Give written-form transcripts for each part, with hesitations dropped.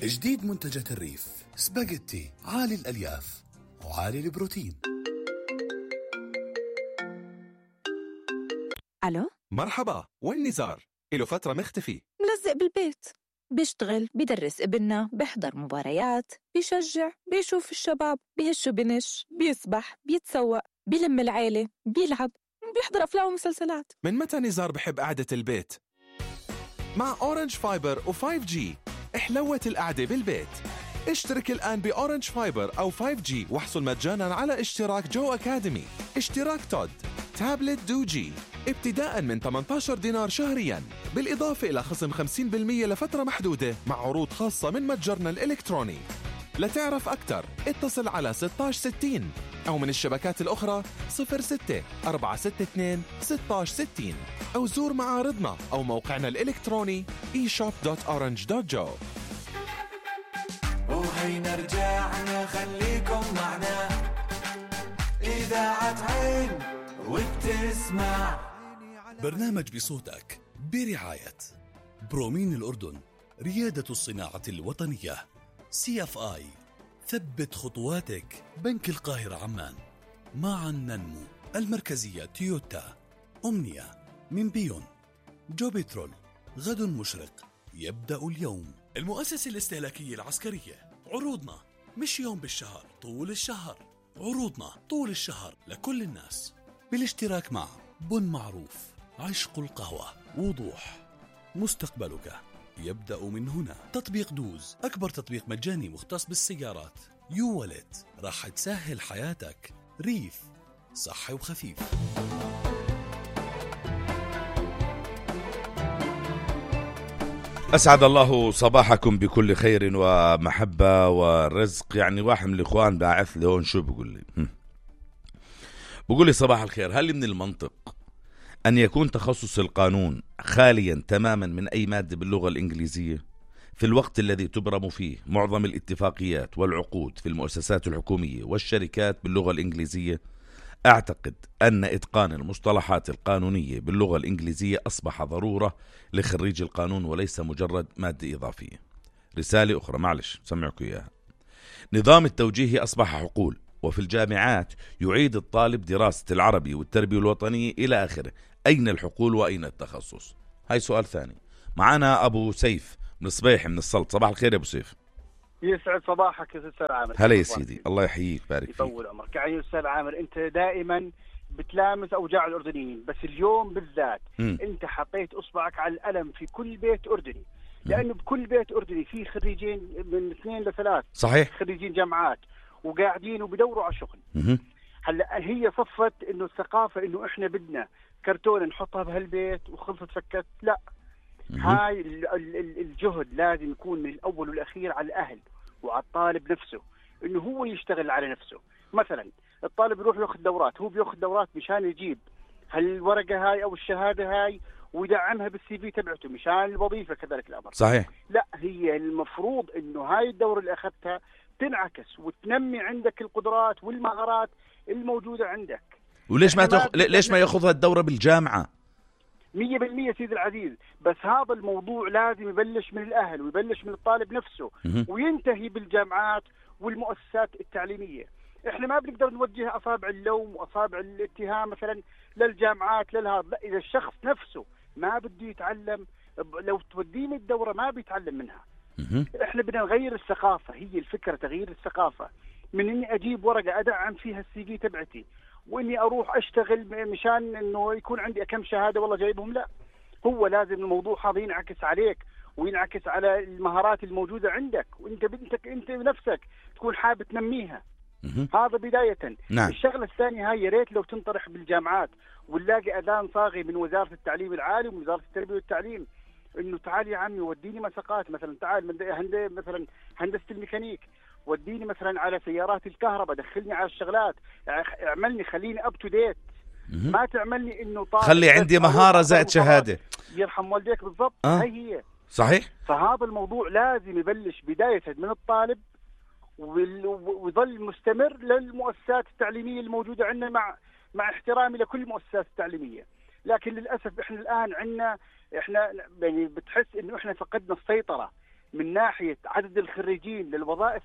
جديد منتجات الريف سباجيتي عالي الألياف وعالي البروتين. ألو؟ مرحبا، وين نزار؟ إله فترة مختفي. ملزق بالبيت، بيشتغل، بيدرس ابننا، بيحضر مباريات، بيشجع، بيشوف الشباب، بيهش وبنش، بيسبح، بيتسوق، بيلم العيلة، بيلعب، بيحضر أفلام ومسلسلات. من متى نزار بحب قعدة البيت؟ مع أورنج فايبر و5G احلوت القعدة بالبيت. اشترك الآن بأورنج فايبر أو 5G واحصل مجانا على اشتراك جو أكاديمي، اشتراك تود، تابلت دوجي ابتداء من 18 دينار شهريا، بالإضافة إلى خصم 50% لفترة محدودة مع عروض خاصة من متجرنا الإلكتروني. لتعرف أكثر اتصل على 1660 أو من الشبكات الأخرى 06 462 1660 أو زور معارضنا أو موقعنا الإلكتروني e-shop.orange.jo. وهينا رجعنا خليكم معنا إذاعة عين وبتسمع برنامج بصوتك برعاية برومين الأردن، ريادة الصناعة الوطنية. CFI ثبت خطواتك، بنك القاهرة عمان. معا ننمو. المركزية تويوتا. أمنية من بيون. جوبيترول، غد مشرق يبدأ اليوم. المؤسسة الاستهلاكية العسكرية، عروضنا مش يوم بالشهر، طول الشهر. عروضنا طول الشهر لكل الناس، بالاشتراك مع بن معروف، عشق القهوة، وضوح. مستقبلك يبدأ من هنا. تطبيق دوز، أكبر تطبيق مجاني مختص بالسيارات. يو والت، راح تسهل حياتك. ريف، صحي وخفيف. أسعد الله صباحكم بكل خير ومحبة ورزق. يعني واحد من الإخوان باعث لي هون شو بقول لي صباح الخير، هل من المنطق أن يكون تخصص القانون خاليا تماما من أي مادة باللغة الإنجليزية في الوقت الذي تبرم فيه معظم الاتفاقيات والعقود في المؤسسات الحكومية والشركات باللغة الإنجليزية؟ أعتقد أن إتقان المصطلحات القانونية باللغة الإنجليزية أصبح ضرورة لخريج القانون وليس مجرد مادة إضافية. رسالة أخرى معلش سمعكم إياها. نظام التوجيه أصبح حقول، وفي الجامعات يعيد الطالب دراسة العربي والتربية الوطنية إلى آخره. أين الحقول وأين التخصص؟ هاي سؤال ثاني. معنا أبو سيف من صبيح من السلط. صباح الخير يا أبو سيف. يسعد صباحك يا أستاذ عامر. هلا يا سيدي، الله يحييك بارك فيك. يطول عمرك. يعني أستاذ عامر، أنت دائما بتلامس أوجاع الأردنيين، بس اليوم بالذات أنت حطيت إصبعك على الألم في كل بيت أردني، لأنه بكل بيت أردني في خريجين من 2 ل 3 صحيح، خريجين جامعات وقاعدين وبدوروا على شغل. هلا هي صفت إنه الثقافة إنه إحنا بدنا كرتون نحطها بهالبيت وخلصت فكت. لا، هاي الجهد لازم يكون من الأول والأخير على الأهل وعلى الطالب نفسه، إنه هو يشتغل على نفسه. مثلا الطالب يروح ياخذ دورات، هو بياخذ دورات مشان يجيب هالورقة هاي أو الشهادة هاي ويدعمها بالسي في تبعته مشان الوظيفة. كذلك الأمر صحيح. لا، هي المفروض إنه هاي الدورة اللي أخذتها تنعكس وتنمي عندك القدرات والمهارات الموجودة عندك. وليش ليش ما ياخذها الدورة بالجامعة؟ 100% سيد العزيز، بس هذا الموضوع لازم يبلش من الأهل ويبلش من الطالب نفسه وينتهي بالجامعات والمؤسسات التعليمية. احنا ما بنقدر نوجه أصابع اللوم وأصابع الاتهام مثلا للجامعات للهذا. لا، إذا الشخص نفسه ما بده يتعلم، لو توديني الدورة ما بيتعلم منها. احنا بدنا نغير الثقافة، هي الفكرة تغيير الثقافة، من اني اجيب ورقة ادعم فيها السي في تبعتي واني اروح اشتغل مشان انه يكون عندي كم شهادة والله جايبهم. لا، هو لازم الموضوع هذا ينعكس عليك وينعكس على المهارات الموجودة عندك، وانت انت بنفسك تكون حابب تنميها. هذا بداية. نعم. الشغلة الثانية هاي يا ريت لو تنطرح بالجامعات ونلاقي اذان صاغي من وزارة التعليم العالي ومن وزارة التربية والتعليم، انه تعال يا عمي وديني مساقات، مثلا تعال من مثلا هندسة الميكانيك، وديني مثلا على سيارات الكهرباء، دخلني على الشغلات، اعملني خليني اب تو ديت. ما تعملني انه خلي عندي مهارة زائد شهادة. يرحم والديك. بالضبط. هي صحيح. فهذا الموضوع لازم يبلش بداية من الطالب ويظل مستمر للمؤسسات التعليمية الموجودة عندنا، مع احترامي لكل المؤسسات التعليمية. لكن للأسف احنا الآن عندنا، احنا يعني بتحس انه احنا فقدنا السيطرة من ناحيه عدد الخريجين للوظائف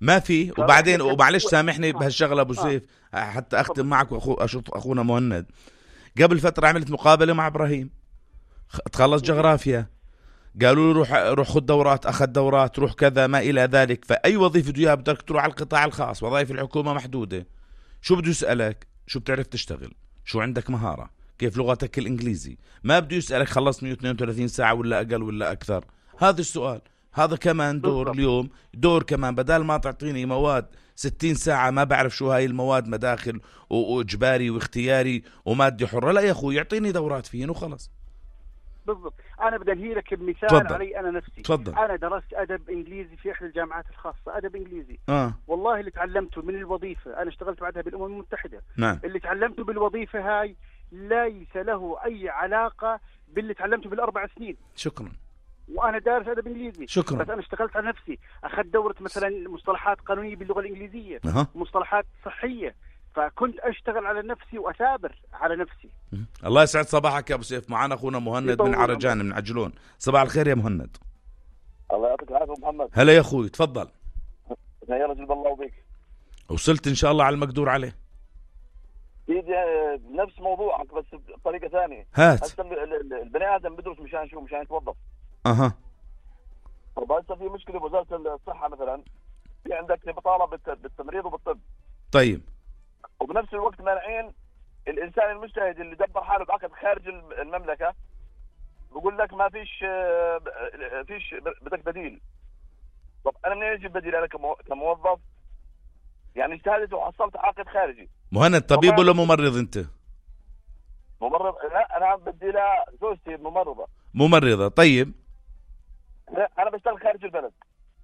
ما في. وبعدين ومعلش سامحني بهالشغله ابو سيف حتى اختم معك اشوف اخونا مهند. قبل فتره عملت مقابله مع ابراهيم، تخلص جغرافيا، قالوا له روح خذ دورات، اخذ دورات، روح كذا ما الى ذلك. فاي وظيفه بده اياها بدك تروح على القطاع الخاص، وظائف الحكومه محدوده. شو بده يسالك؟ شو بتعرف تشتغل؟ شو عندك مهاره؟ كيف لغتك الانجليزي؟ ما بده يسالك خلصت 132 ساعه ولا اقل ولا اكثر. هذا السؤال. هذا كمان دور اليوم، دور كمان بدل ما تعطيني مواد 60 ساعة ما بعرف شو هاي المواد، مداخل واجباري واختياري ومادة حرة، لا يا اخوي يعطيني دورات فيهن وخلص. بالضبط. انا بدي انهي لك بمثال علي انا نفسي. تفضل. انا درست ادب انجليزي في احدى الجامعات الخاصه، ادب انجليزي. والله اللي تعلمته من الوظيفه، انا اشتغلت بعدها بالامم المتحده. نعم. اللي تعلمته بالوظيفه هاي ليس له اي علاقه باللي تعلمته بالاربع سنين. شكرا. وانا دارس ادب انجليزي. شكرا. بس انا اشتغلت على نفسي، اخذت دوره مثلا مصطلحات قانونيه باللغه الانجليزيه، مصطلحات صحيه، فكنت اشتغل على نفسي واثابر على نفسي. الله يسعد صباحك يا ابو سيف. معنا اخونا مهند من عرجان من عجلون. صباح الخير يا مهند. الله يعطيك العافيه محمد. هلا يا اخوي تفضل. يا رجل بالله وبيك. وصلت ان شاء الله على المقدور عليه. سيدي نفس موضوعك بس بطريقه ثانيه. هات. هسه البني ادم بدرس مشان شو؟ مشان يتوظف. طب هسه في مشكله بوزاره الصحه مثلا، في عندك بطاله بالتمريض وبالطب. طيب. وبنفس الوقت مانعين الانسان المجتهد اللي دبر حاله بعقد خارج المملكه، بقول لك ما فيش بدك بديل. طب انا منين اجيب بديل انا كموظف؟ يعني اجتهدت وحصلت عقد خارجي. مهند طبيب ولا ممرض انت؟ ممرض. لا انا بدي لها زوجتي ممرضه. ممرضه. طيب. لا انا بشتغل خارج البلد.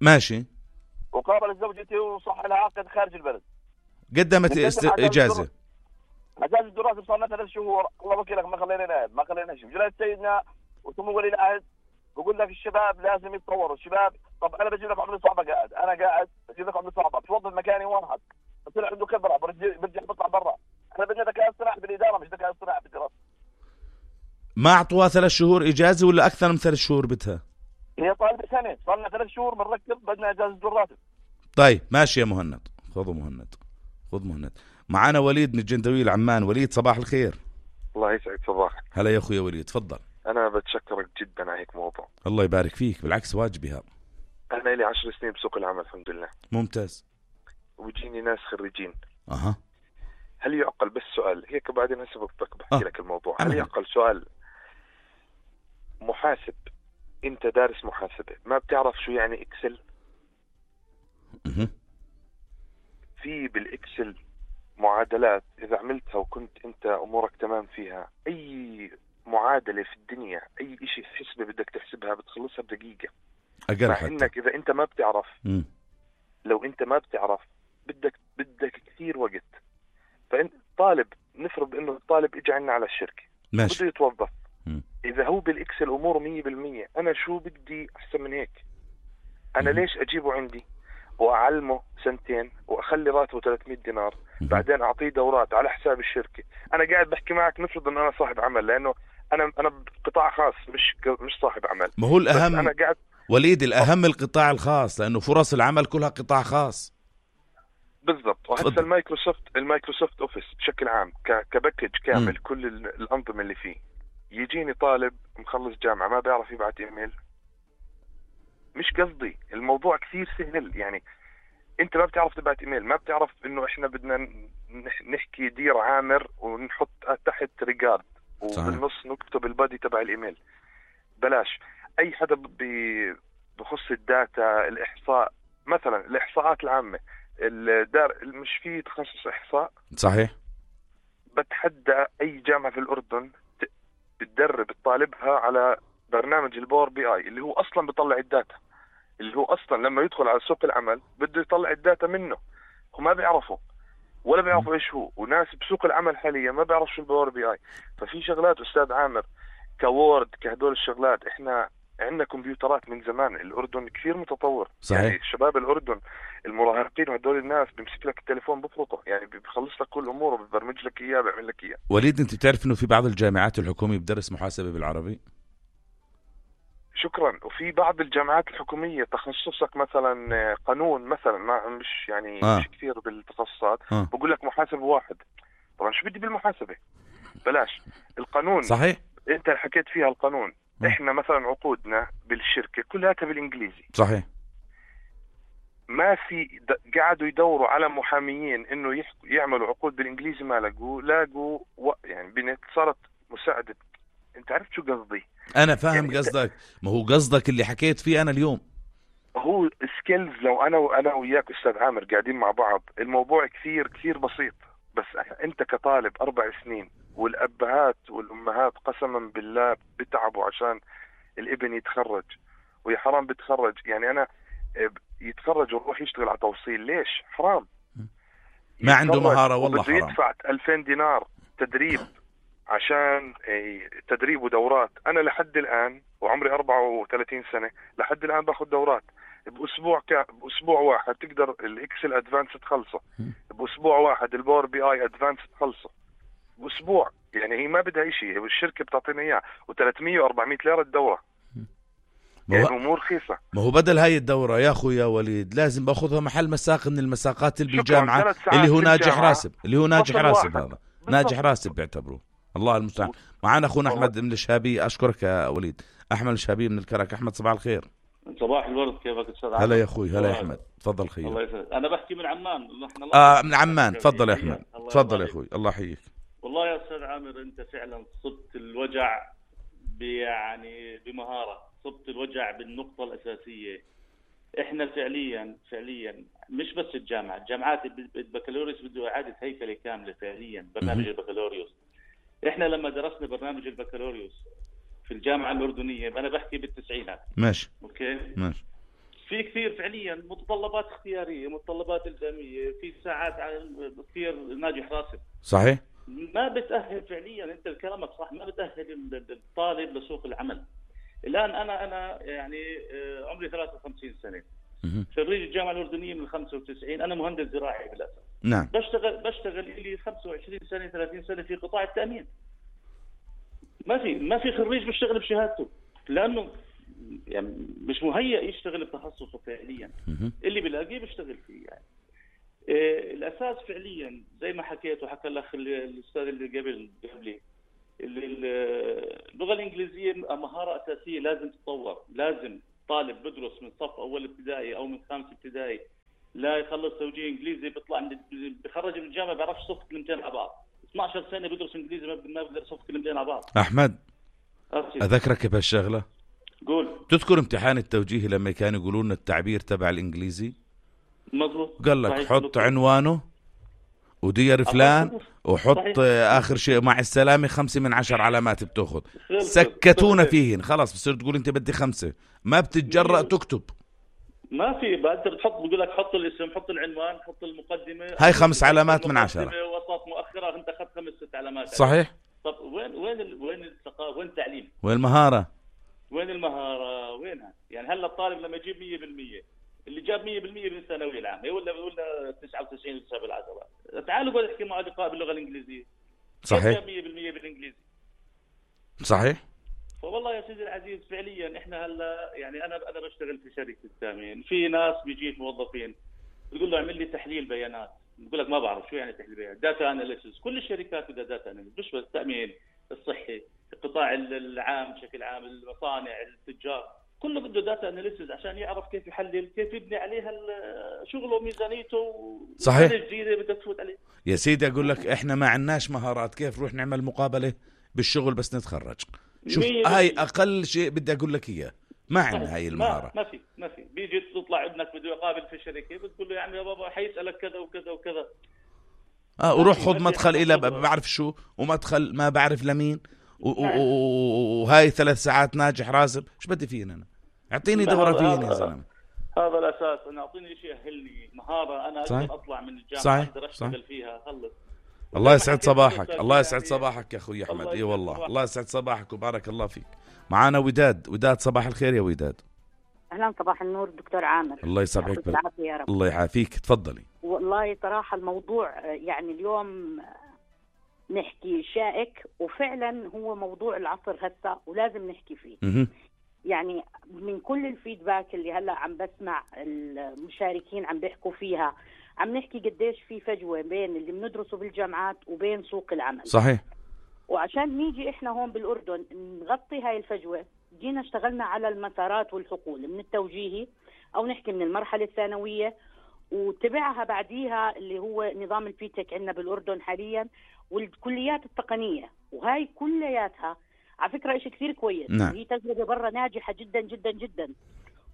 ماشي. وقابلت زوجتي وصح لها عقد خارج البلد. قدمت اجازه. اجازه الدراسه صار لنا 3 شهور. الله وكيلك ما خلينا نقعد، ما خلينا شيء. جلست سيدنا وسمو ولي العهد بقول لك الشباب لازم يتطوروا. الشباب طب انا بجيب لك عمري صعبه قاعد، انا قاعد بجيب لك عمري صعبه، بتوظف مكاني واحد بصير عنده خبره، برجع بطلع برا. انا بدنا ذكاء اصطناعي بالاداره مش ذكاء اصطناعي بالدراسه. ما اعطوها 3 شهور اجازه ولا اكثر من 3 شهور بدها؟ هي طالبه سنه، صار لنا 3 شهور بنركب، بدنا اجازه الراتب. طيب ماشي يا مهند. خذ مهند. معنا وليد من الجندويل عمان. وليد صباح الخير. الله يسعد صباحك. هلا يا اخوي وليد تفضل. انا بتشكرك جدا على هيك موضوع. الله يبارك فيك، بالعكس واجبي هذا. انا لي 10 سنين بسوق العمل الحمد لله. ممتاز. وبيجيني ناس خريجين. هل يعقل بس سؤال هيك بعدين هسه بحكي لك الموضوع. هل يعقل سؤال محاسب، انت دارس محاسبة ما بتعرف شو يعني اكسل؟ في بالاكسل معادلات اذا عملتها وكنت انت امورك تمام فيها، اي معادلة في الدنيا اي اشي حسبة بدك تحسبها بتخلصها بدقيقة اقل. مع انك اذا انت ما بتعرف لو انت ما بتعرف بدك كثير وقت. فانت طالب، نفرض انه الطالب اجى عنا على الشركة بده يتوظف، اذا هو بالاكسل اموره 100%، انا شو بدي احسن من هيك؟ انا ليش اجيبه عندي واعلمه 2 سنين واخلي راتبه 300 دينار بعدين اعطيه دورات على حساب الشركة؟ انا قاعد بحكي معك نفرض انه انا صاحب عمل، لانه انا بقطاع خاص مش صاحب عمل. ما هو الاهم أنا قاعد وليد، الاهم القطاع الخاص، لانه فرص العمل كلها قطاع خاص. بالضبط. وهسه المايكروسوفت اوفيس بشكل عام كباكج كامل كل الانظمه اللي فيه، يجيني طالب مخلص جامعه ما بيعرف يبعت ايميل. مش قصدي، الموضوع كثير سهل. يعني انت ما بتعرف تبعت ايميل، ما بتعرف انه احنا بدنا نحكي دير عامر ونحط تحت ريجارد وبالنص نكتب البادي تبع الايميل. بلاش. اي حدا بخص الداتا، الاحصاء مثلا، الاحصاءات العامه، مش في تخصص احصاء؟ صحيح. بتحدى اي جامعه في الاردن بتدرب طالبها على برنامج الباور بي اي اللي هو اصلا بيطلع الداتا، اللي هو اصلا لما يدخل على سوق العمل بده يطلع الداتا منه. وما بيعرفوا ولا بيعرفوا ايش هو، وناس بسوق العمل حاليا ما بيعرفوا شو الباور بي اي. ففي شغلات استاذ عامر كوورد كهدول الشغلات، احنا عندنا كمبيوترات من زمان. الأردن كثير متطور. صحيح. يعني شباب الأردن المراهقين وهدول الناس بيمسك لك التليفون بفرطه، يعني بيخلص لك كل أموره، بيبرمج لك إياه، بيعمل لك إياه. وليد أنت بتعرف إنه في بعض الجامعات الحكومية بدرس محاسبة بالعربي؟ شكرا. وفي بعض الجامعات الحكومية تخصصك مثلا قانون مثلا، ما مش يعني مش كثير بالتخصصات، بقول لك محاسب واحد. طبعا شو بدي بالمحاسبة؟ بلاش القانون. صحيح. انت حكيت فيها القانون. احنا مثلا عقودنا بالشركة كلها بالانجليزي. صحيح. ما في قعدوا يدوروا على محاميين انه يعملوا عقود بالانجليزي، ما لاقوا يعني بنت صارت مساعدة. انت عرفت شو قصدي؟ انا فاهم يعني قصدك. ما هو قصدك اللي حكيت فيه انا اليوم. هو سكيلز. لو انا وياك استاذ عامر قاعدين مع بعض، الموضوع كثير كثير بسيط. بس انت كطالب 4 سنين، والابهات والامهات قسما بالله بتعبوا عشان الابن يتخرج، ويا حرام بتخرج. يعني انا يتخرج ويروح يشتغل على توصيل، ليش؟ حرام. ما عنده مهارة والله حرام. يدفع 2000 دينار تدريب عشان تدريب ودورات. انا لحد الان وعمري 34 سنة لحد الان باخذ دورات. باسبوع واحد تقدر الاكسل ادفانس تخلصه، باسبوع واحد الباور بي اي ادفانس تخلصه، باسبوع. يعني هي ما بدها شيء، الشركة بتعطينا اياه، و300 و400 ليرة الدورة. يعني امور رخيصة. ما هو بدل هاي الدورة يا اخويا وليد لازم باخذها محل مساق من المساقات اللي بالجامعة، اللي هو ناجح راسب، اللي هو ناجح راسب. هذا ناجح راسب بيعتبروه. الله المستعان. معنا اخونا احمد من الشهابية. اشكرك يا وليد. احمد الشهابية من الكرك. احمد صباح الخير. صباح الورد، كيفك استاذ هلا يا اخوي. هلا يا احمد، تفضل خير. الله يسعدك. انا بحكي من عمان. من عمان. تفضل يا احمد. تفضل يا اخوي. الله يحييك. والله يا استاذ عامر انت فعلا صبت الوجع يعني بمهارة، صبت الوجع بالنقطة الأساسية. احنا فعليا مش بس الجامعات البكالوريوس بده إعادة هيكلة كاملة فعليا. برنامج البكالوريوس، احنا لما درسنا برنامج البكالوريوس في الجامعة الأردنية، أنا بحكي بالتسعينات. ماشي. أوكي. ماشي. في كثير فعليا متطلبات اختيارية، متطلبات إلزامية، في ساعات كثير ناجح راسب. صحيح. ما بتأهل فعليا، انت كلامك صح، ما بتأهل الطالب لسوق العمل. الآن أنا يعني عمري 53 سنة، خريج الجامعة الأردنية من 95. أنا مهندس زراعي بالأساس. نعم. بشتغل لي 25 سنة 30 سنة في قطاع التأمين. ما في خريج بيشتغل بشهادته، لأنه يعني مش مهيأ يشتغل بتخصصه فعليا. اللي بلاقيه بيشتغل فيه يعني. الأساس فعليا زي ما حكيت وحكى الأخ الأستاذ اللي قبلي، اللغة الإنجليزية مهارة أساسية لازم تتطور. لازم طالب بدرس من صف أول ابتدائي أو من 5 ابتدائي لا يخلص توجيه إنجليزي، بيطلع بخرج من الجامعة بيعرفش صف كلمتين على بعض. 12 سنة بدرس إنجليزي ما بيقدر صف كلمتين على بعض. أحمد أذكرك بهالشغلة. قول. تذكر امتحان التوجيه لما كانوا يقولون لنا التعبير تبع الإنجليزي؟ مظبوط. قال لك حط عنوانه ودير فلان وحط آخر شيء مع السلامة 5 من 10 علامات بتأخذ. سكتونا فيهن خلاص. بصير تقول أنت بدي 5، ما بتتجرأ تكتب. ما في بقى انت بتحط، بقول لك حط الاسم، حط العنوان، حط المقدمة، هاي 5 علامات من 10. وسط مؤخرة، انت اخذت 5-6 علامات. صحيح. طب وين الثقافة؟ وين التعليم؟ وين المهارة؟ وينها؟ يعني هلا الطالب لما يجيب 100%، اللي جاب 100% بالثانوية العامة ولا 99 لسه بالعشرة، تعالوا قول احكي مع لقاء باللغة الإنجليزية. صحيح. جاب 100% بالإنجليزي. صحيح. فوالله يا سيدي العزيز فعليا احنا هلا يعني انا بشتغل في شركة التأمين، في ناس بيجيك موظفين بتقول له اعمل لي تحليل بيانات، بقول لك ما بعرف شو يعني تحليل بيانات. داتا اناليسيس، كل الشركات بدها داتا اناليسيس، مش بس التأمين، الصحي، القطاع العام بشكل عام، المصانع، التجار، كله بده داتا اناليسيس عشان يعرف كيف يحلل، كيف يبني عليها شغله وميزانيته. صحيح. الجديدة بدك تفوت عليه. يا سيدي اقول لك احنا ما عندناش مهارات، كيف نروح نعمل مقابلة بالشغل بس نتخرج؟ شوف هاي اقل شيء بدي اقول لك اياه. ما عندنا هاي المهارة. ما في بيجي تطلع ابنك بده يقابل في الشركة، بتقول له يا عمي يا بابا حيسألك كذا وكذا وكذا. وروح خذ مدخل إلى بعرف شو، ومدخل ما بعرف لمين، وهاي 3 ساعات ناجح راسب. شو بدي فينا أنا؟ اعطيني دورة فيني يا زلمة. هذا الأساس. أنا أعطيني شيء أهلني مهارة أنا أقدر أطلع من الجامعة أقدر أشتغل فيها. خلص. الله يسعد صباحك. الله يسعد صباحك يا أخوي أحمد. إيه والله الله يسعد صباحك وبارك الله فيك. معانا وداد. صباح الخير يا وداد. أهلا صباح النور دكتور عامر. الله يسعدك يا رب. الله يعافيك. تفضلي. والله صراحة الموضوع يعني اليوم نحكي شائك، وفعلا هو موضوع العصر هسه ولازم نحكي فيه. يعني من كل الفيدباك اللي هلا عم بسمع المشاركين عم بيحكوا فيها، عم نحكي قديش في فجوة بين اللي بندرسه بالجامعات وبين سوق العمل. صحيح. وعشان نيجي احنا هون بالأردن نغطي هاي الفجوة، جينا اشتغلنا على المسارات والحقول من التوجيهي أو نحكي من المرحلة الثانوية، وتبعها بعديها اللي هو نظام البيتك عندنا بالأردن حاليا، والكليات التقنية. وهاي كلياتها على فكرة إشي كثير كويس. نعم. هي تجربة برا ناجحة جدا جدا جدا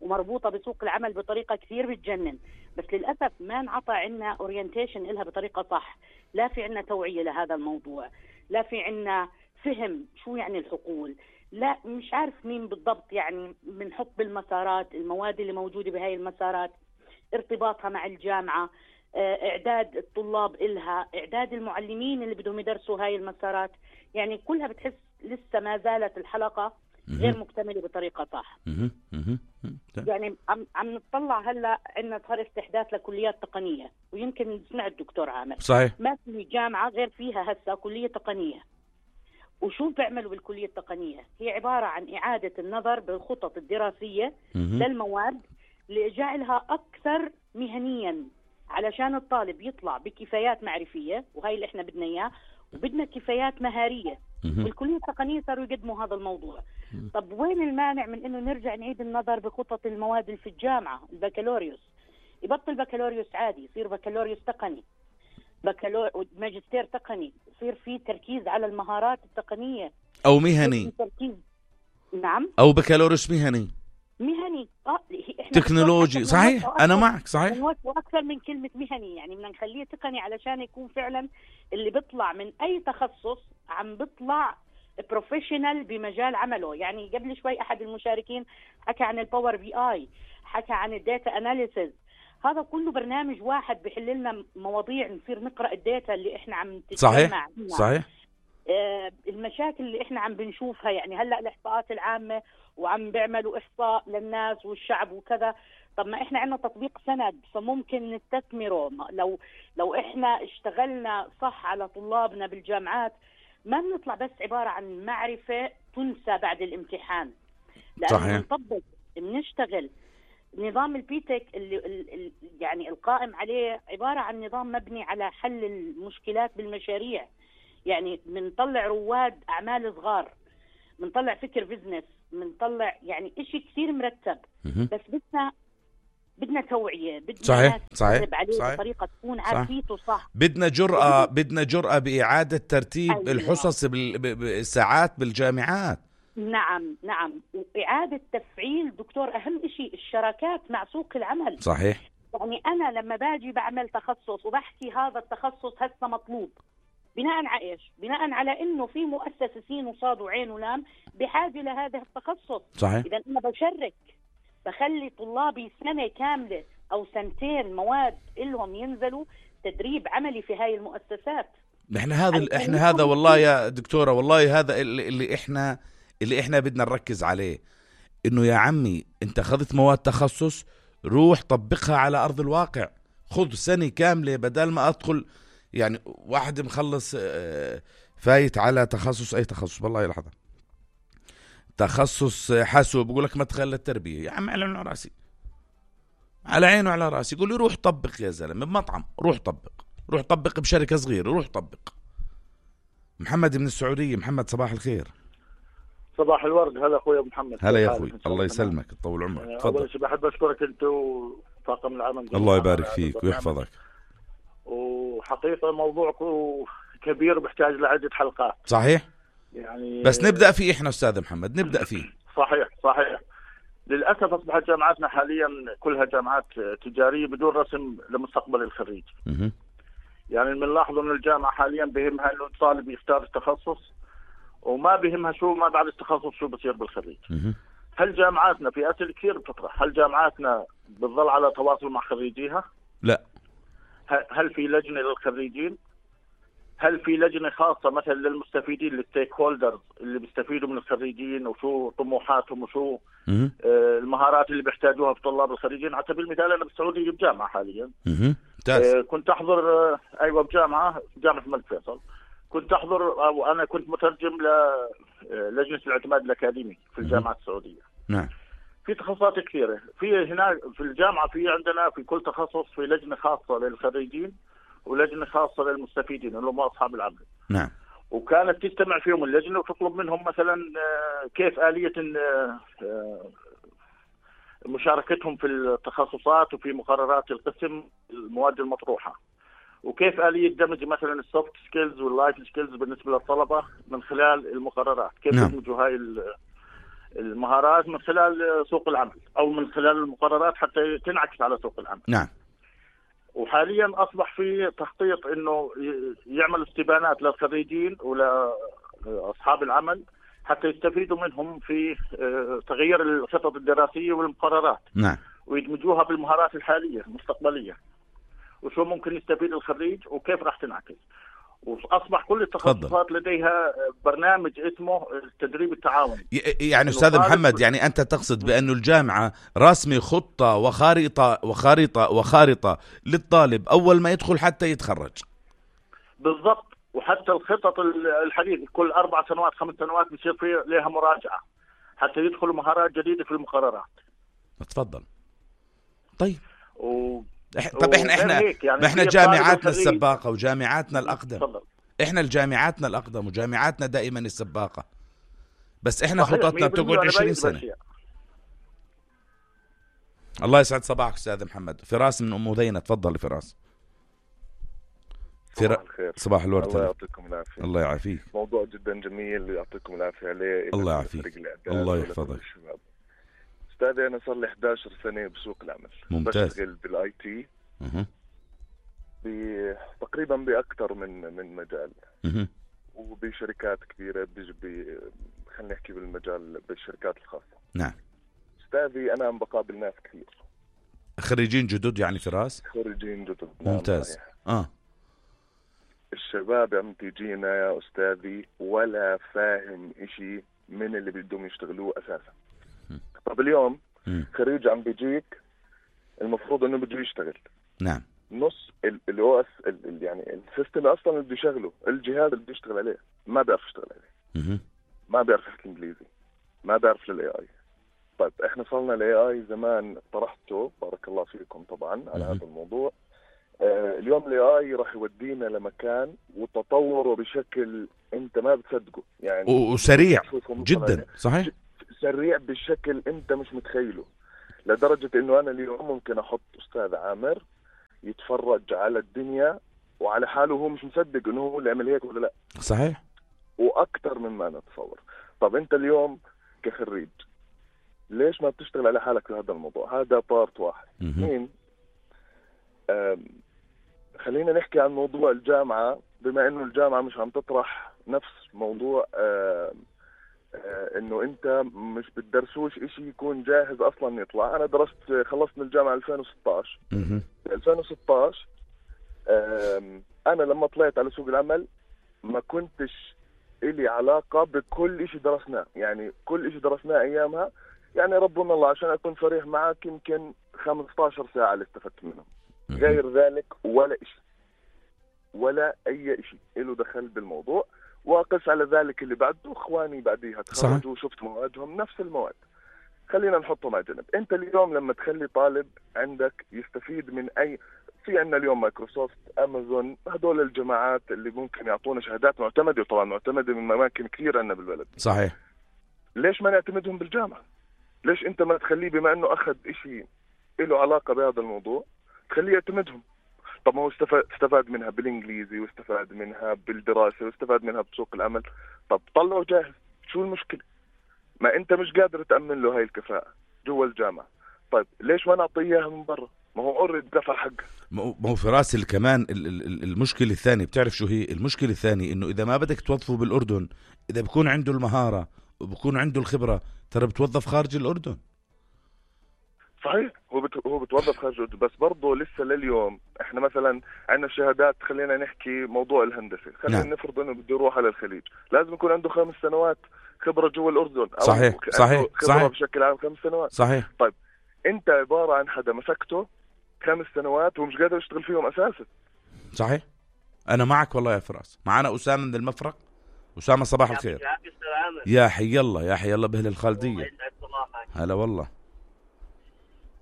ومربوطة بسوق العمل بطريقة كثير بتجنن، بس للأسف ما انعطى عنا اورينتيشن إلها بطريقة صح. لا في عنا توعية لهذا الموضوع، لا في عنا فهم شو يعني الحقول، لا مش عارف مين بالضبط يعني بنحط بالمسارات المواد اللي موجودة بهاي المسارات، ارتباطها مع الجامعة، إعداد الطلاب إلها، إعداد المعلمين اللي بدهم يدرسوا هاي المسارات. يعني كلها بتحس لسه ما زالت الحلقة غير مكتملة بطريقة صح. يعني عم نطلع هلا عندنا صار استحداث لكليات تقنية، ويمكن سمعت الدكتور عامر صحيح ما في جامعة غير فيها هسه كلية تقنية. وشو بيعملوا بالكلية التقنية؟ هي عبارة عن إعادة النظر بالخطط الدراسية للمواد لجعلها أكثر مهنيا، علشان الطالب يطلع بكفايات معرفية، وهي اللي احنا بدنا إياه، وبدنا كفايات مهارية. والكلية التقنية صاروا يقدموا هذا الموضوع. طب وين المانع من إنه نرجع نعيد النظر بخطط المواد اللي في الجامعة؟ البكالوريوس يبطل بكالوريوس عادي، يصير بكالوريوس تقني، ماجستير تقني، يصير في تركيز على المهارات التقنية أو مهني. نعم، أو بكالوريوس مهني تكنولوجي. صحيح، أنا معك. صحيح، وأكثر من كلمة مهني، يعني بدنا نخليه تقني علشان يكون فعلا اللي بيطلع من أي تخصص عم بيطلع بروفيشنال بمجال عمله. يعني قبل شوي أحد المشاركين حكى عن الباور بي آي، حكى عن الداتا أناليسيز. هذا كله برنامج واحد بيحل لنا مواضيع، نصير نقرأ الداتا اللي إحنا عم تتجمع. صحيح. المشاكل اللي إحنا عم بنشوفها، يعني هلأ الإحصاءات العامة وعم بيعملوا إحصاء للناس والشعب وكذا. طب ما إحنا عندنا تطبيق سند فممكن نستثمره. لو إحنا اشتغلنا صح على طلابنا بالجامعات، ما بنطلع بس عبارة عن معرفة تنسى بعد الامتحان. لأنه بنطبق بنشتغل نظام البيتك اللي يعني القائم عليه عبارة عن نظام مبني على حل المشكلات بالمشاريع. يعني بنطلع رواد أعمال صغار، بنطلع فكر بزنس، بنطلع يعني إشي كثير مرتب. بس بدنا توعية، بدنا صحيح عليه بطريقة تكون عارفيته صح. بدنا جرأة بإعادة ترتيب الحصص بالساعات بالجامعات. نعم، وإعادة تفعيل دكتور أهم إشي الشراكات مع سوق العمل. صحيح. يعني أنا لما باجي بعمل تخصص وبحكي هذا التخصص هسه مطلوب، بناء على إيش؟ بناء على إنه في مؤسسة سين وصاد وعين ولام بحاجة لهذا التخصص. صحيح. إذا أنا بشرك، بخلي طلابي سنة كاملة أو سنتين مواد إلهم ينزلوا تدريب عملي في هاي المؤسسات. احنا هذا والله يا دكتورة، والله هذا اللي احنا بدنا نركز عليه، انه يا عمي انت اخذت مواد تخصص، روح طبقها على ارض الواقع. خذ سنة كاملة بدل ما ادخل يعني واحد مخلص فايت على تخصص، اي تخصص والله لحظة، تخصص حاسوب، بقول لك ما تخلى التربية. يا عم على عيني راسي، على عينه وعلى راسي. يقول لي روح طبق يا زلمة بمطعم، روح طبق بشركة صغيرة، روح طبق. محمد من السعودية. محمد صباح الخير. صباح الورد. هلا اخوي ابو محمد. هلا يا اخوي، الله يسلمك طول عمرك. تفضل. اول شيء بحب اشكرك انت وطاقم العمل. الله يبارك فيك ويحفظك. وحقيقة موضوعكم كبير بيحتاج لعدة حلقات. صحيح. يعني بس نبدأ فيه احنا استاذ محمد، نبدأ فيه. صحيح. للأسف أصبحت جامعاتنا حاليا كلها جامعات تجارية بدون رسم لمستقبل الخريج. يعني بنلاحظ أن الجامعة حاليا بهمها أنه الطالب يختار التخصص وما بهمها شو ما بعد التخصص شو بصير بالخريج. هل جامعاتنا في أسئلة كثير بتطرح، هل جامعاتنا بتظل على تواصل مع خريجيها؟ لا. هل في لجنة للخريجين؟ هل في لجنة خاصة مثلا للمستفيدين للستيك هولدرز اللي بيستفيدوا من الخريجين وشو طموحاتهم وشو المهارات اللي بيحتاجوها في طلاب الخريجين؟ على سبيل المثال أنا بالسعودية بجامعة حاليا. كنت أحضر بجامعة الملك فيصل، كنت أحضر وأنا كنت مترجم للجنة الاعتماد الأكاديمي في الجامعة السعودية. نعم. في تخصصات كثيرة. في هنا في الجامعة في عندنا في كل تخصص في لجنة خاصة للخريجين ولجنة خاصة للمستفيدين اللي هم أصحاب العمل. نعم. وكانت تجتمع فيهم اللجنة وتطلب منهم مثلا كيف آلية مشاركتهم في التخصصات وفي مقررات القسم المواد المطروحة، وكيف آلية دمج مثلا السوفت سكيلز واللايف سكيلز بالنسبة للطلبة من خلال المقررات، كيف يدمجوا هاي المهارات من خلال سوق العمل أو من خلال المقررات حتى تنعكس على سوق العمل. نعم. وحاليا أصبح في تخطيط إنه يعمل استبانات للخريجين ولأصحاب العمل حتى يستفيدوا منهم في تغيير الخطط الدراسية والمقررات. نعم. ويدمجوها بالمهارات الحالية المستقبلية، وشو ممكن يستفيد الخريج وكيف راح تنعكس. وأصبح كل التخصصات لديها برنامج اسمه التدريب التعاوني. يعني أستاذ محمد، يعني أنت تقصد بأنه الجامعة راسمة خطة وخارطة للطالب أول ما يدخل حتى يتخرج. بالضبط. وحتى الخطط الحديثة كل 4 سنوات 5 سنوات بيصير في لها مراجعة حتى يدخلوا مهارات جديدة في المقررات. تفضل. طيب. طب احنا جامعاتنا السباقة وجامعاتنا الأقدم. تفضل. احنا الجامعاتنا الأقدم وجامعاتنا دائما السباقة، بس احنا خططنا بتقعد 20 سنة. الله يسعد صباحك أستاذ محمد. فراس من أم ذينة، تفضل فراس. صباح الخير. صباح الورد. الله يعطيكم العافية. الله يعافيك. موضوع جدا جميل يعطيكم العافية عليه. الله يعافيك. الله يحفظك. أستاذي أنا صار لي 11 سنة بسوق العمل. ممتاز. بشتغل بالاي تي تقريبا بأكثر من مجال وبشركات كبيرة خلينا نحكي بالمجال بالشركات الخاصة. نعم. أستاذي أنا عم بقابل ناس كثير خريجين جدد يعني فراس؟ خريجين جدد. ممتاز. الشباب عم تيجينا يا أستاذي ولا فاهم إشي من اللي بدهم يشتغلوه أساسا. طب اليوم خريج عم بيجيك المفروض إنه بده يشتغل. نعم. نص الأو اس يعني السيستم أصلا اللي بده يشغله الجهاز اللي بده يشتغل عليه ما بيعرف يشتغل عليه. ما بيعرف يحكي إنجليزي، ما بيعرف للأي آي. طيب إحنا صلنا الأي آي زمان طرحته بارك الله فيكم طبعا على هذا الموضوع. اليوم الاي اي راح يودينا لمكان وتطوره بشكل انت ما بتصدقه يعني وسريع جدا. صحيح. سريع بشكل انت مش متخيله، لدرجة انه انا اليوم ممكن احط استاذ عامر يتفرج على الدنيا وعلى حاله وهو مش مصدق انه هو اللي عمل هيك ولا لا. صحيح. واكثر مما نتصور. طب انت اليوم كخريج ليش ما بتشتغل على حالك في هذا الموضوع؟ هذا بارت واحد. اثنين، خلينا نحكي عن موضوع الجامعة، بما انه الجامعة مش عم تطرح نفس موضوع انه انت مش بتدرسوش اشي يكون جاهز اصلا يطلع. انا درست خلصت من الجامعة 2016. 2016 انا لما طلعت على سوق العمل ما كنتش إلي علاقة بكل اشي درسناه، يعني كل اشي درسناه ايامها يعني ربنا الله عشان اكون صريح معك يمكن 15 ساعة اللي استفدت منهم. غير ذلك ولا إشي ولا أي إشي إله دخل بالموضوع. وقس على ذلك اللي بعده إخواني بعديها تخرجوا وشفت موادهم نفس المواد. خلينا نحطهم على جنب. أنت اليوم لما تخلي طالب عندك يستفيد من في عندنا اليوم مايكروسوفت أمازون هدول الجماعات اللي ممكن يعطونا شهادات معتمدة، طبعا معتمدة من أماكن كثير عندنا بالبلد. صحيح. ليش ما نعتمدهم بالجامعة؟ ليش أنت ما تخليه بما أنه أخذ إشي له علاقة بهذا الموضوع خليه يعتمدهم؟ طب ما هو استفاد منها بالإنجليزي واستفاد منها بالدراسة واستفاد منها بسوق العمل. طب طلعه جاهز، شو المشكلة؟ ما أنت مش قادر تأمن له هاي الكفاءة جوا الجامعة. طيب ليش ما نعطيه إياها من برا؟ ما هو أوريد دفع حقه. ما هو في راس كمان المشكلة الثانية، بتعرف شو هي المشكلة الثانية؟ إنه إذا ما بدك توظفه بالأردن، إذا بكون عنده المهارة وبكون عنده الخبرة ترى بتوظف خارج الأردن. صحيح، هو بتوظف خارج الأردن، بس برضه لسه لليوم احنا مثلا عندنا شهادات. خلينا نحكي موضوع الهندسة، خلينا نفرض انه بده يروح على الخليج، لازم يكون عنده 5 سنوات خبرة جوا الأردن. أو صحيح. خبرة صحيح. بشكل عام 5 سنوات. صحيح. طيب انت عبارة عن حدا مسكته 5 سنوات ومش قادر يشتغل فيهم أساسا. صحيح. أنا معك والله يا فراس. معنا أسامة من المفرق. أسامة صباح الخير. يا حي الله، يا حي الله بأهل الخالدية. هلا والله.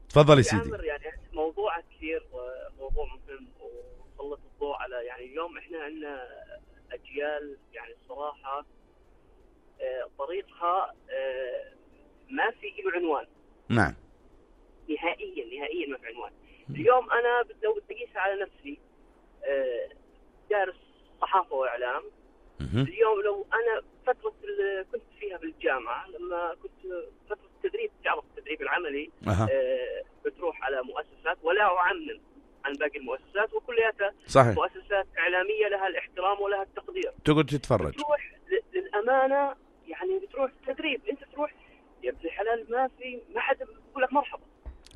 تفضل يا سيدي. يعني موضوع كثير وموضوع مهم وسلط الضوء على يعني اليوم احنا عندنا اجيال يعني الصراحه طريقها ما في له عنوان. نعم. نهائيا ما في عنوان. اليوم انا لو بدي اقيس على نفسي دارس صحافه واعلام. اليوم لو انا فتره اللي كنت فيها بالجامعه لما كنت فتره التدريب، تعرف التدريب العملي بتروح على مؤسسات، ولا اعمم عن باقي المؤسسات وكلياتها مؤسسات اعلاميه لها الاحترام ولها التقدير. تقعد تتفرج. بتروح للامانه يعني بتروح تدريب، انت تروح يا ابن الحلال ما حد بيقول لك مرحبا.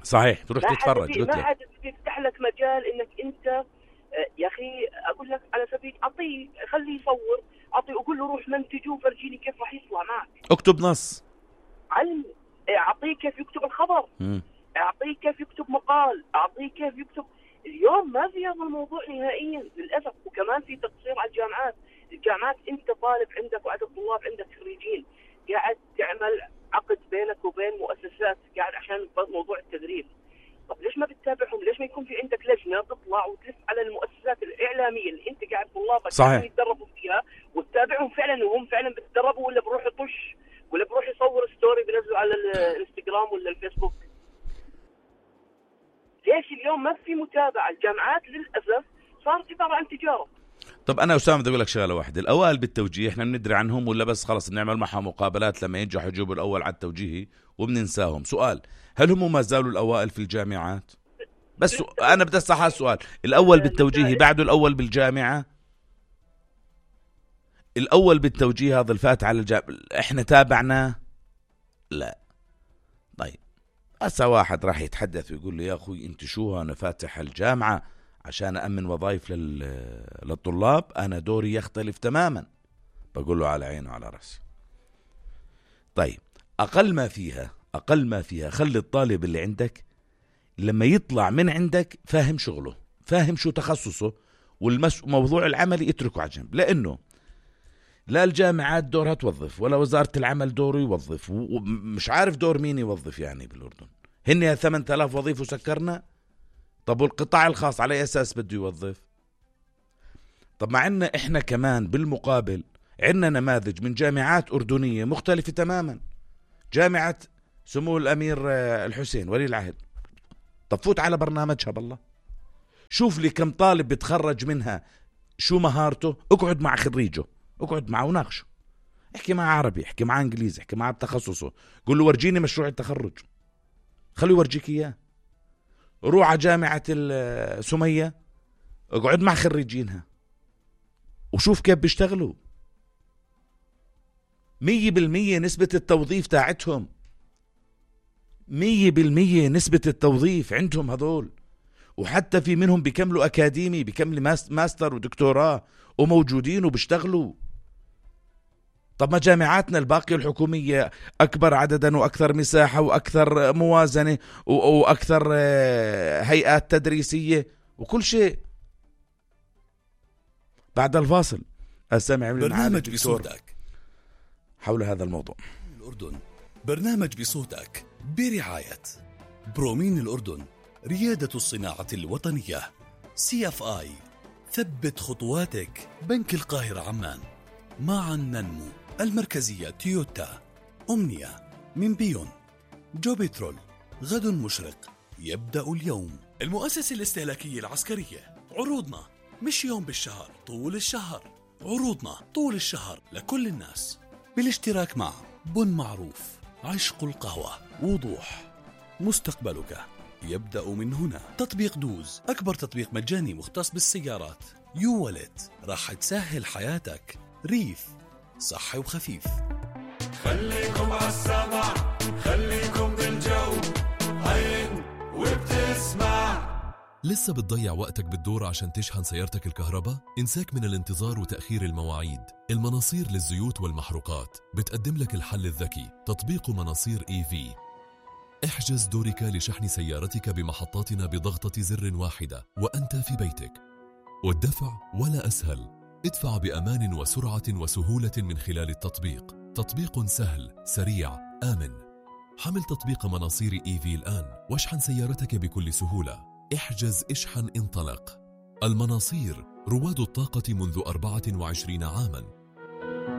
صحيح، تروح تتفرج. ما حد بيفتح لك مجال انك انت يا اخي اقول لك على سبيل اعطيه، خليه يصور، اعطيه وقول له روح منتجه وفرجيني كيف راح يطلع معك. اكتب نص، علم، اعطيه كيف يكتب الخبر، اعطيه كيف يكتب مقال، اعطيه كيف يكتب. اليوم ما في هذا الموضوع نهائيا للاسف. وكمان في تقصير على الجامعات انت طالب عندك وعدد طلاب عندك خريجين، قاعد تعمل عقد بينك وبين مؤسسات قاعد عشان موضوع التدريب. طب ليش ما بتتابعهم؟ ليش ما يكون في عندك لجنه تطلع وتلف على المؤسسات الاعلاميه اللي انت قاعد طلابك يتدربوا فيها وتتابعهم فعلا وهم فعلا بيتدربوا، ولا بروح يطش ولا بروح يصور ستوري بينزلوا على الانستغرام ولا الفيسبوك؟ ليش اليوم ما في متابعه؟ الجامعات للاسف صارت عباره عن تجاره. طب انا اسامه بدي اقول لك شغله واحده، الاوائل بالتوجيه احنا بندري عنهم ولا بس خلص بنعمل معهم مقابلات لما ينجحوا يجيبوا الاول على التوجيهي وبننساهم؟ سؤال، هل هم ما زالوا الاوائل في الجامعات؟ بس انا بدي اسال هذا السؤال، الاول بالتوجيهي بعده الاول بالجامعه؟ الاول بالتوجيه هذا الفات على الجامعه احنا تابعناه؟ لا. طيب هسه واحد راح يتحدث ويقول لي يا اخوي انت شو انا فاتح الجامعه عشان أأمن وظائف للطلاب، أنا دوري يختلف تماما. بقول له على عينه وعلى رأسي. طيب أقل ما فيها خلي الطالب اللي عندك لما يطلع من عندك فاهم شغله، فاهم شو تخصصه، والموضوع العملي اتركه على جنب، لأنه لا الجامعات دورها توظف ولا وزارة العمل دوره يوظف، ومش عارف دور مين يوظف يعني بالأردن. هن 8000 وظيفة وسكرنا. طب والقطاع الخاص على أساس بده يوظف؟ طب مع إن إحنا كمان بالمقابل عندنا نماذج من جامعات أردنية مختلفة تماما. جامعة سمو الأمير الحسين ولي العهد، طب فوت على برنامجها بالله، شوف لي كم طالب بتخرج منها، شو مهارته، اقعد مع خريجه، اقعد معه وناقشه، احكي معه عربي، احكي معه انجليزي، احكي معه بتخصصه، قول له ورجيني مشروع التخرج، خليه يورجيك اياه. روح على جامعة سمية، اقعد مع خريجينها وشوف كيف بيشتغلوا. 100% نسبة التوظيف تاعتهم، 100% نسبة التوظيف عندهم هذول، وحتى في منهم بيكملوا أكاديمي، بيكملوا ماستر ودكتوراه وموجودين وبيشتغلوا. طب ما جامعاتنا الباقية الحكومية أكبر عددا وأكثر مساحة وأكثر موازنة وأكثر هيئات تدريسية وكل شيء. بعد الفاصل أستمع برنامج بصوتك حول هذا الموضوع. الأردن، برنامج بصوتك برعاية برومين الأردن، ريادة الصناعة الوطنية، CFI، ثبت خطواتك، بنك القاهرة عمان، معا ننمو، المركزية تويوتا، أمنية من بيون، جوبيترول، غد مشرق يبدأ اليوم، المؤسسة الاستهلاكية العسكرية. عروضنا مش يوم بالشهر، طول الشهر، عروضنا طول الشهر لكل الناس، بالاشتراك مع بن معروف، عشق القهوة، وضوح، مستقبلك يبدأ من هنا. تطبيق دوز، أكبر تطبيق مجاني مختص بالسيارات. يو والت، راح تسهل حياتك. ريف، صحي وخفيف. خليكم عالسمع، خليكم بالجو، هين وبتسمع. لسه بتضيع وقتك بالدور عشان تشحن سيارتك الكهرباء؟ انساك من الانتظار وتأخير المواعيد. المناصير للزيوت والمحروقات بتقدم لك الحل الذكي، تطبيق مناصير EV. احجز دورك لشحن سيارتك بمحطاتنا بضغطة زر واحدة وأنت في بيتك، والدفع ولا أسهل. ادفع بأمان وسرعة وسهولة من خلال التطبيق. تطبيق سهل، سريع، آمن. حمل تطبيق مناصير إيفي الآن واشحن سيارتك بكل سهولة. احجز، اشحن، انطلق. المناصير، رواد الطاقة منذ 24 عاماً.